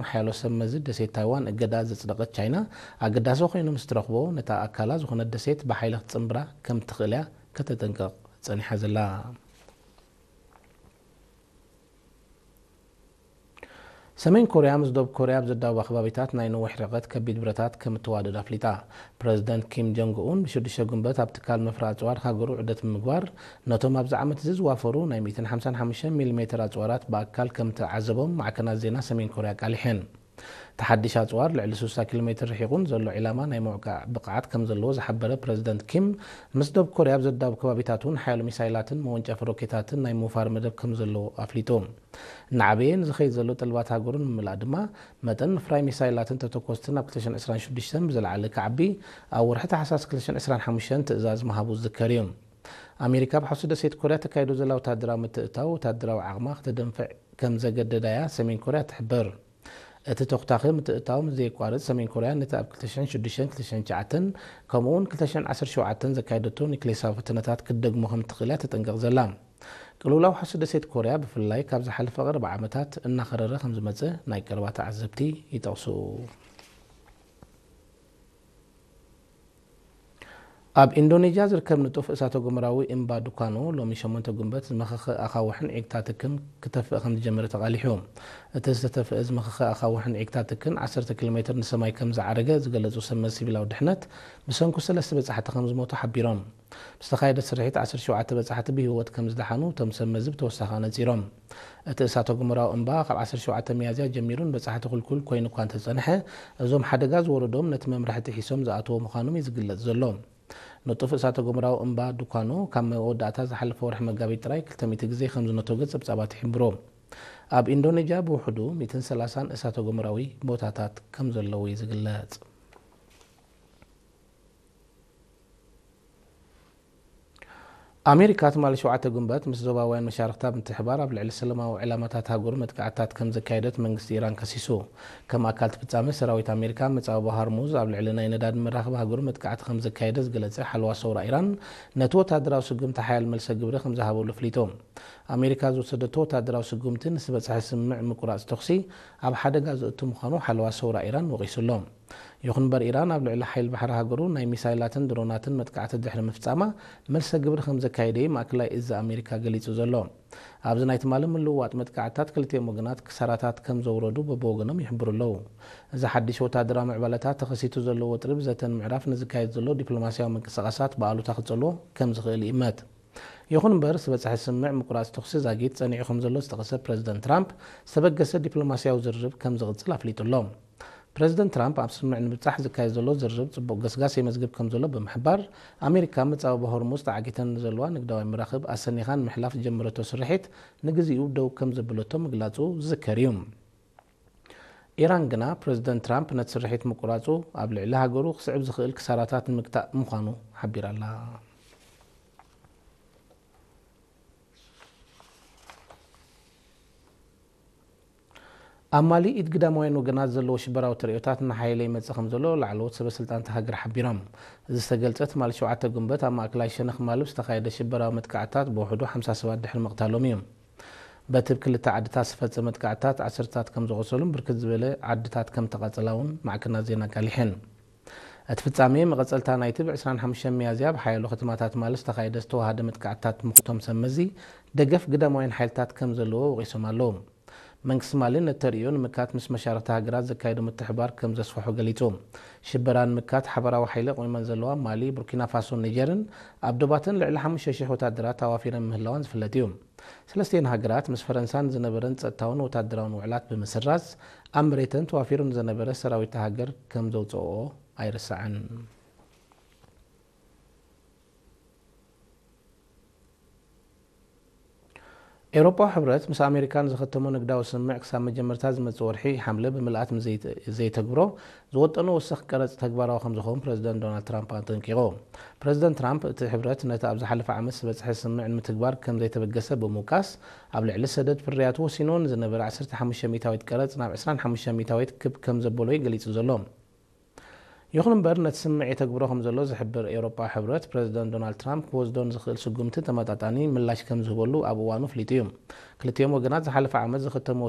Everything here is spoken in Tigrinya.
ሓያሎ ሰብ መዚ ደሴት ታይዋን እገዳ ዘጽደቐት ቻይና፣ ኣገዳሲ ኮይኑ ምስ ትረኽቦ፣ ነታ ኣካላ ዝኾነት ደሴት ብሓይሊ ክትጽንብራ ከም ትኽእል እያ ከተጠንቅቕ ጸኒሓ ዘላ። ሰሜን ኮርያ ምስ ደቡብ ኮርያ ኣብ ዘዳውባ ከባቢታት ናይ ነዊሕ ርሕቀት ከቢድ ብረታት ከም እትዋደድ ኣፍሊጣ። ፕረዚደንት ኪም ጆንግ ኡን ብሽዱሽተ ጉንበት ኣብ ትካል መፍረ ኣጽዋር ሃገሩ ዑደት ብምግባር፣ ነቶም ኣብዚ ዓመት እዚ ዝዋፈሩ ናይ ሚእትን ሓምሳን ሓሙሽተን ሚሊሜተር ኣጽዋራት ብኣካል ከም እተዓዘቦም ማዕከናት ዜና ሰሜን ኮርያ ኣቃሊሐን። እቲ ሓድሽ ኣጽዋር ልዕሊ ስሳ ኪሎ ሜትር ርሒቑን ዘሎ ዒላማ ናይ ምውቃዕ ብቕዓት ከም ዘለዎ ዝሓበረ ፕረዚደንት ኪም፣ ምስ ደቡብ ኮርያ ኣብ ዘዳውብ ከባቢታት እውን ሓያሎ ሚሳይላትን መወንጨፊ ሮኬታትን ናይ ምውፋር መደብ ከም ዘለዎ ኣፍሊጡ። እናዓበየ ንዝኸይድ ዘሎ ጠለባት ሃገሩ ንምምላእ ድማ፣ መጠን ምፍራይ ሚሳይላትን ተተኮስትን ኣብ ክልተ ሽሕን ዕስራን ሽዱሽተን ብዝለዓለ ክዓቢ፣ ኣብ ወርሒ ታሕሳስ ክልተ ሽሕን ዕስራን ሓሙሽተን ትእዛዝ ምሃቡ ዝዝከር እዩ። ኣሜሪካ ኣብ ሓውሲ ደሴት ኮርያ ተካይዶ ዘላ ወታደራዊ ምትእትታው፣ ወታደራዊ ዓቕማ ክተደንፍዕ ከም ዘገደዳያ ሰሜን ኮርያ ትሕብር። እቲ ተኹታኺ ምትእትታው ምስ ዘየቋርጽ፣ ሰሜን ኮርያ ነቲ ኣብ ክልተ ሽሕን ሽዱሽተን ክልተ ሽሕን ትሽዓተን ከምኡ'ውን ክልተ ሽሕን ዓሰርተ ሸውዓተን ዘካየደቶ ኒክሌሳዊ ፈተነታት ክትደግሞ ከም ትኽእል እያ ተጠንቅቕ ዘላ። ቅልውላው ሓውሲ ደሴት ኮርያ፣ ብፍላይ ካብ ዝሓለፈ ቀረባ ዓመታት እናኸረረ ከም ዝመጸ ናይ ቀረባ ተዓዘብቲ ይጠቕሱ። ኣብ ኢንዶኔዥያ ዝርከብ ንጡፍ እሳተ ጎመራዊ እምባ ዱካኖ፣ ሎሚ ሸሞንተ ጉንበት ዝመኸኸ ኣኻውሕን ዒግታትክን ክተፍእ ከም ዝጀመረ ተቓሊሑ። እቲ ዝተተፍአ ዝመኸኸ ኣኻውሕን ዒግታትክን ዓሰርተ ኪሎ ሜትር ንሰማይ ከም ዝዓረገ ዝገለጹ ሰብ መዚ ሲቪላዊ ድሕነት፣ ብሰንኩ ሰለስተ በጻሕቲ ከም ዝሞቱ ሓቢሮም። ብዝተኻየደ ስርሒት ዓሰርተ ሸውዓተ በጻሕቲ ብህይወት ከም ዝደሓኑ እቶም ሰብ መዚ ብተወሳኺ ኣነጺሮም። እቲ እሳተ ጎመራዊ እምባ ካብ ዓሰርተ ሸውዓተ ሚያዝያ ጀሚሩ ንበጻሕቲ ክልኩል ኮይኑ እኳ እንተጸንሐ፣ እዞም ሓደጋ ዝወረዶም ነቲ መምርሒ ጥሒሶም ዝኣተዎ ምዃኖም እዩ ዝግለጽ ዘሎ። ንጡፍ እሳተ ጎመራዊ እምባ ዱካኖ ካብ መወዳእታ ዝሓለፈ ወርሒ መጋቢት ጥራይ ክልተ ሚእቲ ግዜ ከም ዝነተገ ጸብጻባት ይሕብሩ። ኣብ ኢንዶኔዥያ ብውሕዱ ሚእትን ሰላሳን እሳተ ጎመራዊ ቦታታት ከም ዘለዉ እዩ ዝግለጽ። ኣሜሪካ ትማሊ ሸውዓተ ጉንበት ምስ ዞባውያን መሻርኽታ ብምትሕብባር ኣብ ልዕሊ ሰላማዊ ዕላማታት ሃገሩ መጥቃዕትታት ከም ዘካየደት መንግስቲ ኢራን ከሲሱ። ከም ኣካል እቲ ፍጻመ፣ ሰራዊት ኣሜሪካ ኣብ መጻብቦ ሃርሙዝ ኣብ ልዕሊ ናይ ነዳዲ መራኽብ ሃገሩ መጥቃዕቲ ከም ዘካየደ ዝገለጸ ሓለዋ ሰውራ ኢራን፣ ነቲ ወታደራዊ ስጉምቲ ሓያል መልሰ ግብሪ ከም ዝሃበሉ ኣፍሊጡ። ኣሜሪካ ዝወሰደቶ ወታደራዊ ስጉምቲ ንዝበጽሐ ስምምዕ ምቁራጽ ተኹሲ ኣብ ሓደጋ ዘእቱ ምዃኑ ሓለዋ ሰውራ ኢራን ወቒሱ ኣሎ። ይኹን እምበር፣ ኢራን ኣብ ልዕሊ ሓይሊ ባሕሪ ሃገሩ ናይ ሚሳይላትን ድሮናትን መጥቃዕቲ ድሕሪ ምፍጻማ፣ መልሰ ግብሪ ከም ዘካየደ እዩ ማእከላይ እዚ ኣሜሪካ ገሊጹ ዘሎ። ኣብዚ ናይ ትማሊ ምልውዋጥ መጥቃዕትታት፣ ክልቲኦም ወገናት ክሳራታት ከም ዘውረዱ በብወገኖም ይሕብሩ ኣለዉ። እዚ ሓድሽ ወታደራዊ ምዕባለታት፣ ተኸሲቱ ዘሎ ወጥሪ ብዘተ ንምዕራፍ ንዝካየድ ዘሎ ዲፕሎማስያዊ ምንቅስቓሳት ብኣሉታ ክጸልዎ ከም ዝኽእል ይእመት። ይኹን እምበር፣ ዝበጽሐ ስምምዕ ምቁራጽ ተኹሲ ዛጊት ጸኒዑ ከም ዘሎ ዝጠቐሰ ፕረዚደንት ትራምፕ፣ ዝተበገሰ ዲፕሎማስያዊ ዝርርብ ከም ዝቕጽል ኣፍሊጡ ኣሎ። ፕረዚደንት ትራምፕ፣ ኣብ ስምምዕ ንምብጻሕ ዝካየድ ዘሎ ዝርርብ ጽቡቕ ገስጋስ የመዝግብ ከም ዘሎ ብምሕባር፣ ኣሜሪካ መጻብቦ ሆርሙዝ ተዓጊተን ንዘለዋ ንግዳዊ መራኽብ ኣሰኒኻ ንምሕላፍ ዝጀመረቶ ስርሒት ንግዚኡ ደው ከም ዘብለቶ ምግላጹ ዝዝከር እዩ። ኢራን ግና፣ ፕረዚደንት ትራምፕ ነቲ ስርሒት ምቁራጹ ኣብ ልዕሊ ሃገሩ ክስዕብ ዝኽእል ክሳራታት ንምግታእ ምዃኑ ሓቢራ ኣላ። ኣብ ማሊ ኢድ ግዳማውያን ወገናት ዘለዎ ሽበራዊ ተርእዮታት እናሓየለ ይመጽእ ከም ዘሎ ላዕለዎት ሰበ ስልጣን እታ ሃገር ሓቢሮም። እዚ ዝተገልጸ ትማሊ ሸውዓተ ጉንበት ኣብ ማእከላይ ሸነኽ ማሊ ብዝተኻየደ ሽበራዊ መጥቃዕትታት ብውሕዱ ሓምሳ ሰባት ድሕሪ ምቕታሎም እዩ። በቲ ኣብ ክልተ ዓድታት ዝተፈጸመ መጥቃዕትታት ዓሰርተታት ከም ዝቖሰሉን ብርክት ዝበለ ዓድታት ከም ተቓጸላ እውን ማዕከናት ዜና ኣቃሊሐን። እቲ ፍጻሜ መቐጸልታ ናይቲ ብ ዕስራን ሓሙሽተን ሚያዝያ ኣብ ሓያሎ ከተማታት ማሊ ዝተኻየደ ዝተዋሃደ መጥቃዕትታት ምዃኑ እቶም ሰብ መዚ፣ ደገፍ ግዳማውያን ሓይልታት ከም ዘለዎ ወቒሶም ኣለዉ። መንግስቲ ማሊ ነቲ ተርእዮ ንምክታት ምስ መሻርኽቲ ሃገራት ዘካየዶ ምትሕብባር ከም ዘስፍሖ ገሊጹ። ሽበራ ንምክታት ሓበራዊ ሓይሊ ኣቑሚመን ዘለዋ ማሊ፣ ቡርኪና ፋሶን ኒጀርን ኣብ ዶባተን ልዕሊ ሓሙሽተ ሽሕ ወታደራት ኣዋፊረን ምህላወን ዝፍለጥ እዩ። ሰለስቲኤን ሃገራት ምስ ፈረንሳ ንዝነበረን ጸጥታውን ወታደራውን ውዕላት ብምስራዝ፣ ኣብ መሬተን ተዋፊሩ ንዝነበረ ሰራዊት እታ ሃገር ከም ዘውጽኦኦ ኣይርሳዕን። ኤውሮጳዊ ሕብረት ምስ ኣሜሪካ ንዝኸተሞ ንግዳዊ ስምምዕ ክሳብ መጀመርታ ዝመጽእ ወርሒ ሓምለ ብምልኣት ምስ ዘይተ-፣ ዘይተግብሮ ዝወጠኖ ወሰኽ ቀረጽ ተግባራዊ ከም ዝኸውን ፕረዚደንት ዶናልድ ትራምፕ ኣጠንቂቑ። ፕረዚደንት ትራምፕ እቲ ሕብረት ነቲ ኣብ ዝሓለፈ ዓመት ዝበጽሐ ስምምዕ ንምትግባር ከም ዘይተበገሰ ብምውቃስ፣ ኣብ ልዕሊ ሰደድ ፍርያቱ ወሲንዎ ንዝነበረ ዓሰርተ ሓሙሽተ ሚእታዊት ቀረጽ ናብ ዕስራን ሓሙሽተ ሚእታዊት ክብ ከም ዘበሎ እዩ ገሊጹ ዘሎ። ይኹን እምበር፣ ነቲ ስምምዕ የተግብሮ ከም ዘሎ ዝሕብር ኤውሮጳዊ ሕብረት፣ ፕረዚደንት ዶናልድ ትራምፕ ክወስዶ ንዝኽእል ስጉምቲ ተመጣጣኒ ምላሽ ከም ዝህበሉ ኣብ እዋኑ ኣፍሊጡ እዩ። ክልቲኦም ወገናት ዝሓለፈ ዓመት ዝኸተምዎ